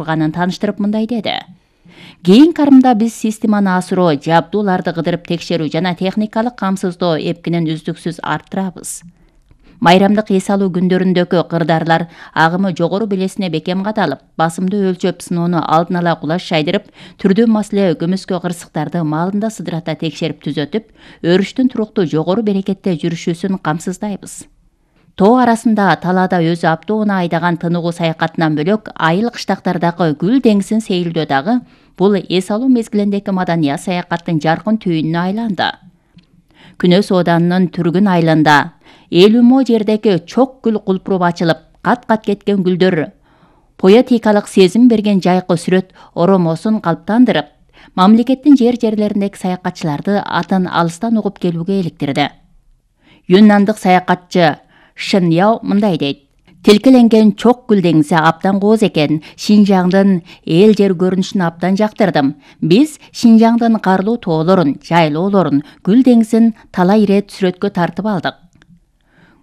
турганын тааныштырып мындай деди. Кийин карымда биз системаны асыроо, жабдууларды кыдырып текшерүү жана техникалык камсыздоо эпкинин үздүксүз арттырабыз. Майрамдык эс алуу күндөрүндөгү кырдаарлар агымы жогору белесине бекем кадалып, басымды өлчөп сыноону алдын ала кулаш жайдырып, түрдүү маселе көмүскө кырсыктарды маалында сыдырата текшерип түзөтүп, өрүштүн туруктуу жогору берекетте жүрүшүүсүн камсыздайбыз. Тоо арасында талаада өзү аптоуна айдаган тыныгуу саякатынан бөлөк, айыл кыштактардагы гүл деңизин сейилдөө дагы бул эс алуу мезгилиндеги маданият саякаттын жаркын түйүнүнө айланды. Күнөс Ооданынын Түргүн айылында 50 мо жердеги чок гүл кулпуруп ачылып, кат-кат кеткен гүлдөр поэтикалык сезим берген жайкы сүрөт оромосун калыптандырып, мамлекеттин жерлериндеги саякатчыларды атын алыстан угуп келүүгө иликтирди. Юннандык саякатчы Шын Яо мындай дейт: тилкеленген чок гүл деңизи абдан кооз экен. Шинжаңдын эл жер көрүнүшүн абдан жактырдым. Биз Шинжаңдын карлуу тоолорун, жайлоолорун, гүл деңизин талай ирет сүрөткө тартып алдык.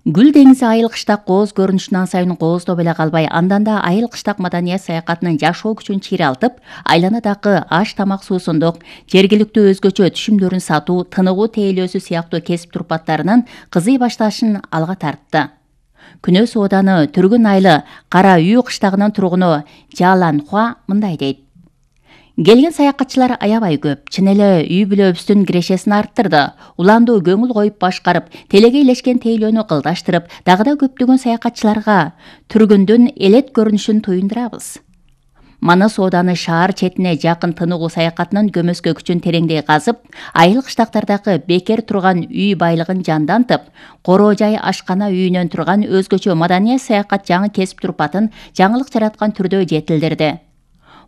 Гүл деңизи айыл кыштак кооз көрүнүшүнөн сайын кооздоп эле калбай, анданда айыл кыштак маданият саякатынын жашоо күчүн чыйралтып, айланадагы аш тамак суусундук, жергиликтүү өзгөчө түшүмдөрүн сатуу, тыныгуу тейлөөсү сыяктуу кесип турпаттарынын кызый башташын алга тартты. Күнөс Ооданы Түргүн айылы Кара үй кыштагынын тургуну Жалан Хуа мындай дейт: келген саякатчылар аябай көп. Чын эле үй бүлөбүздүн кирешесин арттырды. Уланду көңүл коюп башкарып, телеге илешкен тейлөөнү кылдаштырып, дагы да көптөгөн саякатчыларга Түргүндүн элет көрүнүшүн туюндурабыз. Манас Ооданы шаар четине жакын тыныгуу саякатынын көмөскө күчүн тереңдей казып, айыл кыштактардагы бекер турган үй байлыгын жандантып, короо жай ашкана үйүнөн турган өзгөчө маданият саякат жаңы кесип турпатын жаңылык жараткан түрдө жетилдирди.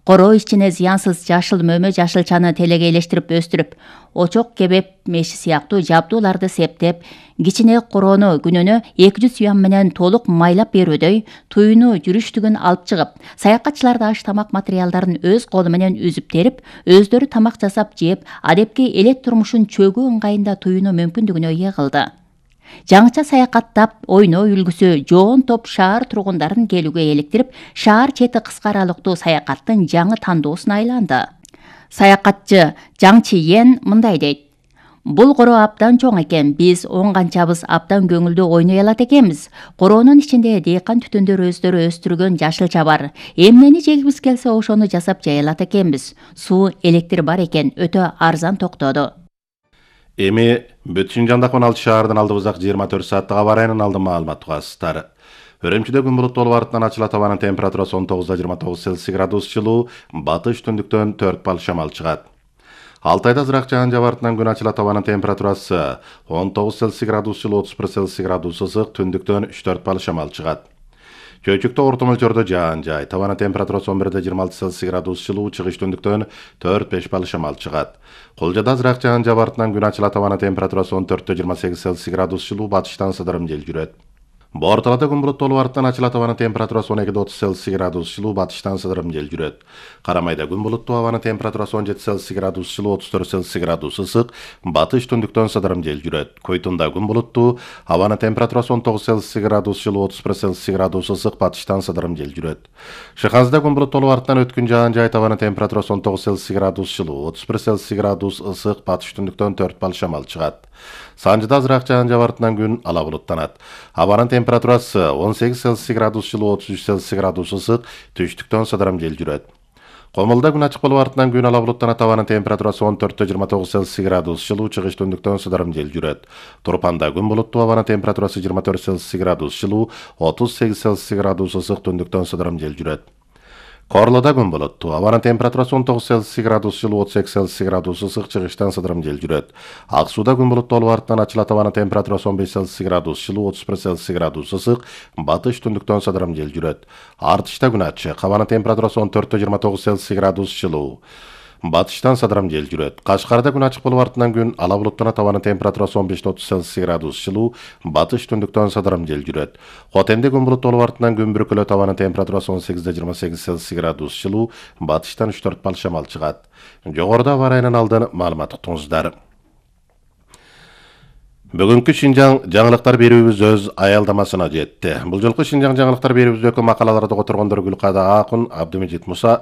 Короо ичине зыянсыз жашыл мөмө жашылчаны телеге илештирип өстүрүп, очок кебеп меши сыяктуу жабдууларды септеп, кичине короону күнүнө 200 юан менен толук майлап берүүдөй туюну жүрүштүгүн алып чыгып, саякатчыларды аш тамак материалдарын өз колу менен үзүп терип, өздөрү тамак жасап жеп, адепки элет турмушун чөгүү ыңгайында туюну мүмкүндүгүнө ээ кылды. Жаңыча саякаттап, ойноо үлгүсү жоон топ шаар тургундарын келүүгө эликтирип, шаар чети кыска аралыктуу саякаттын жаңы тандоосуна айланды. Саякатчы Жаң Чиен мындай дейт: бул короо абдан чоң экен. Биз оң канчабыз абдан көңүлдүү ойной алат экенбиз. Короонун ичинде дыйкан түтүндөр өздөрү өстүргөн жашылча бар. Эмнени жегибиз келсе ошону жасап жай алат экенбиз. Суу, электр бар экен, өтө арзан токтоду. Эми бүт Шинжаңдагы 16 шаардын алдыбыздагы 24 сааттык аба ырайынын алдын маалымат угасыздар. Өрөмчүдө күн булуттуу болуп артынан ачылат, абанын температурасы 19-29 Цельсий градус жылуу, батыш түндүктөн 4 балл шамал чыгат. Алтайда азыраак жаан жаап артынан күн ачылат, абанын температурасы 19 Цельсий градус жылуу, 31 Цельсий градус ысык, түндүктөн 3-4 балл шамал чыгат. Чөйчүктө орто мөлчөрдө жаан жай, табанын температурасы 11-26 Цельсий градус жылуу, чыгыш түндүктөн 4-5 балл шамал чыгат. Кулжада азыраак жаан жаап артынан күн ачылат, табанын температурасы 14-28 Цельсий градус жылуу, батыштан сыдырым жел жүрөт. Борталада күн булуттуу болуп артынан ачылат, абанын температурасы 12-30 Цельсий градус жылуу, батыштан сыдырым жел жүрөт. Карамайда күн булуттуу, абанын температурасы 17 Цельсий градус жылуу, 34 Цельсий градус ысык, батыш түндүктөн сыдырым жел жүрөт. Койтунда күн булуттуу, абанын температурасы 19 Цельсий градус жылуу, 31 Цельсий градус ысык, батыштан сыдырым жел жүрөт. Шыханзада күн булуттуу болуп артынан өткүн жаан жай, абанын температурасы 19 Цельсий градус жылуу, 31 Цельсий градус ысык, батыш түндүктөн 4 балл шамал чыгат. Санжыда азыраак жаан жаап артынан күн ала булуттанат. Абанын температурасы 18 Цельсий градус жылуу, 33 Цельсий градус ысык, түштүктөн сыдырым жел жүрөт. Комулда күн ачык болуп артынан күн ала булуттанат, абанын температурасы 14-29 Цельсий градус жылуу, чыгыш түндүктөн сыдырым жел жүрөт. Турпанда күн булуттуу, абанын температурасы 24 Цельсий градус жылуу, 38 Цельсий градус ысык, түндүктөн сыдырым жел жүрөт. Корлода күн булуттуу, абанын температурасы 19 Цельсий градус жылуу, 38 Цельсий градус ысык, чыгыштан сыдырым жел жүрөт. Ак сууда күн булуттуу болуп артынан ачылат, абанын температурасы 15 Цельсий градус жылуу, 31 Цельсий градус ысык, батыш түндүктөн сыдырым жел жүрөт. Артышта күн ачык, абанын температурасы 14-29 Цельсий градус жылуу, батыштан сыдырым жел жүрөт. Кашкарда күн ачык болуп артынан күн ала булуттанат, абанын температурасы 15-30 Цельсий градус жылуу, батыш түндүктөн сыдырым жел жүрөт. Хотенде күн булуттуу болуп артынан күн бүркөлөт, абанын температурасы 18-28 Цельсий градус жылуу, батыштан 3-4 балл шамал чыгат. Жогоруда аба ырайынын алдын маалымат уктуңуздар. Бүгүнкү Шинжаң жаңылыктар берүүбүз өз аялдамасына жетти. Бул жолку Шинжаң жаңылыктар берүүбүздөгү макалаларды которгондор Гүлкада Акун, Абдымежит Муса,